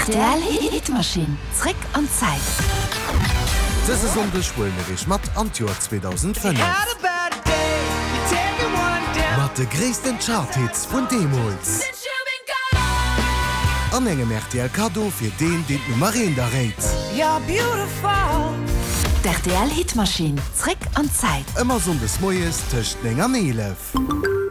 Rtl Hitmaschinn, zréck an d'Zäit. Dëse Sonndeg huele mir iech mat an d'Joer 2005. Mat de gréissten Chart-Hits vun deemools. An engem rtl Kaddo fir deen, deen d'Nummer eent erréit. D'RTL Hitmaschinn, zréck an d'Zäit. Ëmmer Sonndes moies tëscht 9 an 11.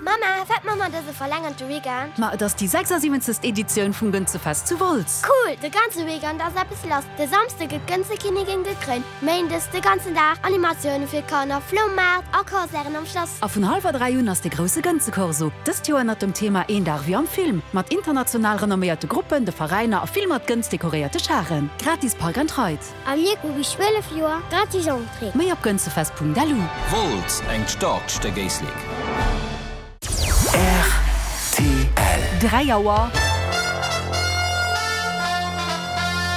Mama, wat man mer dëse verlängerte Weekend? Ma et ass déi 76. Editioun vum Gënzefest zu Wolz. Cool, de ganze Weekend ass eppes lass. De Samsde gëtt d'Gënzekinnigin gekréint, Méindes de ganzen Dag Animatioune fir d'Kanner, Floumaart a Concerten am Schlass. A vun hallwer 3 un ass de grousse Gënzekorso, dëst Joer ënnert dem Thema Een Dag wéi am Film, mat international renomméierte Gruppen, de Veräiner a vill mat Gënz dekoréierte Charen. Gratis Park and Ride. A mir hu bis 12 Joer gratis Entrée. Méi op gënzefest.lu. Wolz, engt staarkt Stéck Éislek. Rtl. 3 Auer.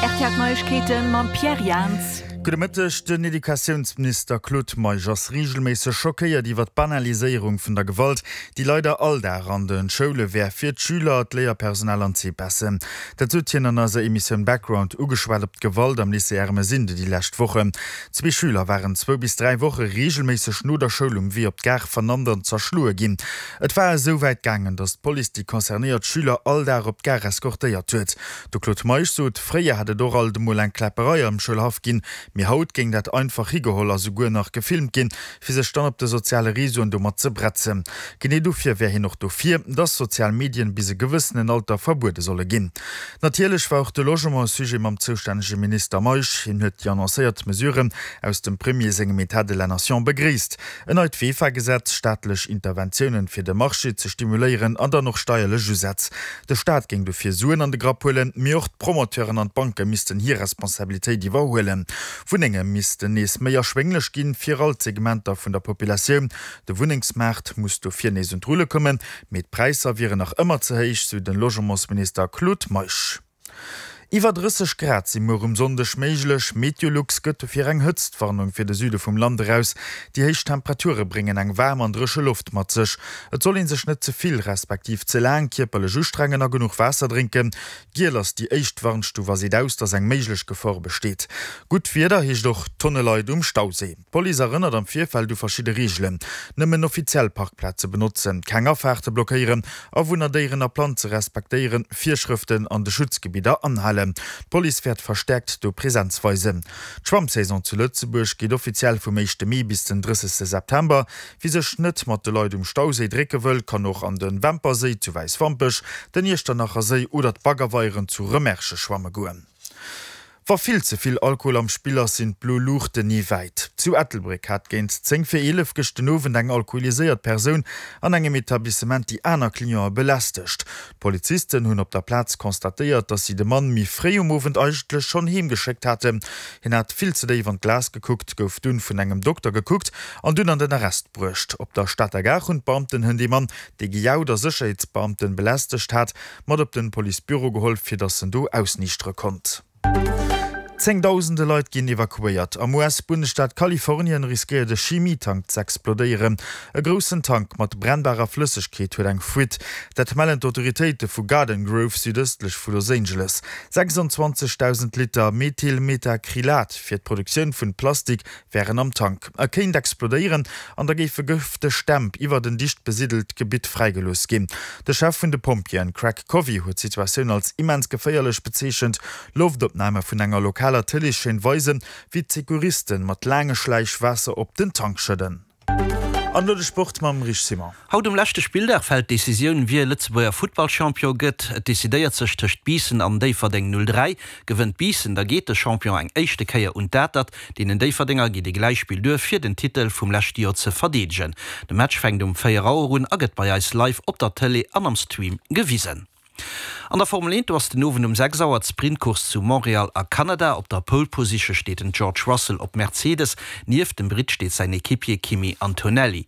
Rtl D'Neiegkeeten mam Pierre Jans. Gudde Mëtteg. Den Educatiounsminister Claude Meisch ass reegelméisseg schockéiert iwwer d'Banaliséierung vun der Gewalt, déi leider all Dag an de Schoule wär fir d'Schüler, d'Léierpersonal an d'CPESen. Dat sot hien an eiser Emissioun Background, ugeschwat op d'Gewalt am Lycée Ermesinde déi lescht Wochen. Zwee Schüler waren zwou bis 3 Woche reegelméisseg no der Schoul um Wee op d'Gare vernannt an zerschloe ginn. Et war esou wäit gaangen, datt d'Police déi concernéiert Schüler all Dag op d'Gare eskortéiert huet. De Claude Meisch sot, fréier hätt et och alt emol eng Kläpperei am Schoulhaff ginn, mee haut géing dat einfach higeholl a souguer nach gefilmt ginn, fir sech dann op de soziale Reseauen domat ze bretzen. Genee dofir wär hien och dofir, datt sozial Medien bis e gewëssenen Alter verbuede solle ginn. Natierlech war och de Logement e Sujet mam zoustännege Minister Meisch. Hien huet déi annoncéiert Mesuren aus dem Premier sengem État de la Nation begréisst. En neit VEFA-Gesetz, staatlech Interventiounen fir de Marché ze stimuléieren an dann och steierlech Usätz. De Staat géing dofir Suen an de Grapp huelen, mee och d'Promoteuren an d'Banke missten hir Responsabilitéit iwwerhuelen. Wunnenge missten nees méi erschwénglech ginn, fir all d'Segmenter vun der Populatioun. De Wunnengsmaart muss dofir nees un d'Rulle kommen, mee d'Präisser wieren nach ëmmer ze héich, sou den Logementsminister Claude Meisch. Iwwer 30 Grad si muer um Sonndeg méiglech. Meteolux gëtt dofir eng Hëtztwarnung fir de Süde vum Land eraus. Déi héich Temperature bréngen eng waarm an dréche Loft mat sech. Et soll ee sech net ze vill, respektiv ze laang kierperlech ustrengen a genuch Waasser drénken. Giel ass déi éischt Warnstuf a seet aus, dass eng méiglech Gefor besteet. Gutt Wieder heescht och Tonne Leit um Stauséi. D'Police erënnert am Virfeld u verschidde Reegelen, Nëmmen offiziell Parkplaze benotzen, keng Afaarte blockéieren, Awunner, Déieren a Planze respektéieren, Virschrëften an de Schutzgebidder anhalen. D'Police wäert verstäerkt do Presenz weisen. D'Schwammsaison zu Lëtzebuerg geet offiziell vum éischte Mee bis den 30 September. Wie sech net mat de Leit um Stauséi drécke wëll, kann och an de Wemperséi zu Wäiswampech, den Iechternacher Séi oder d'Baggerweieren zu Rëmerschen schwamme goen. Wa vill ze vill Alkohol am Spill ass, sinn d'blo Luuchten ni wäit. Zu Ettelbréck hat géint 10 vir 11 gëscht den Owend eng alkoholiséiert Persoun an engem Etablissement déi aner Clientë belästegt. D'Polizisten hunn op der Plaz constatéiert, dass si de Mann méi fréi um Owend eigentlech schonn heem geschéckt haten. Hien hat vill ze déif an d'Glas gekuckt, gouf dunn vun engem Dokter gekuckt an dunn an den Arrest bruecht. Op der Stater Gare hunn d'Beamten hënt ee Mann, dee gejaut a Sécherheetsbeamten belästegt hat, mat op den Policebüro geholl, fir dass en do ausniichtere konnt. Zéngdausende Leit ginn evakuéiert. Am US-Bundesstaat Kalifornien riskéiert e Chimietank z'explodéieren. E groussen Tank mat brennbarer Flëssegkeet huet eng Fuite. Dat mellen d'Autoritéite vu Garden Grove südëstlech vu Los Angeles. 26.000 Liter Methylmethacrylat fir d'Produktioun vun Plastik wären am Tank. E kéint explodéieren an da géife gëfteg Dämp iwwert en dicht besidelt Gebitt fräigelooss ginn. De Chef vun de Pompjeeën, Craig Covey, huet d'Situatioun als immens geféierlech bezeechent. Loftopname vun enger lokaler Tëleeschaîne weisen, wéi d'Secouristen mat laange Schläich Waasser op den Tank schëdden. An elo de Sport mam Rich Simon. Haut um leschte Spilldag fält d'Decisioun, wie Lëtzebuerger Futtballchampion gëtt. Et decidéiert sech tëscht Biissen an Déifferdeng 03. Gewënnt Biissen, da geet de Champion eng éischte Kéier un d'Atert. Deenen Déifferdenger geet e Gläichspill duer, fir den Titel vum leschte Joer ze verdeedegen. De Match fänkt um 4 Auer un a gëtt bei eis live op der Tëlee an am Stream gewisen. An der Formel 1, do ass den Owend um 6 Auer d'Sprintcourse zu Montréal a Kanada. Op der Pole Position steet den George Russell op Mercedes. Nieft dem Britt steet säin Equipier Kimi Antonelli.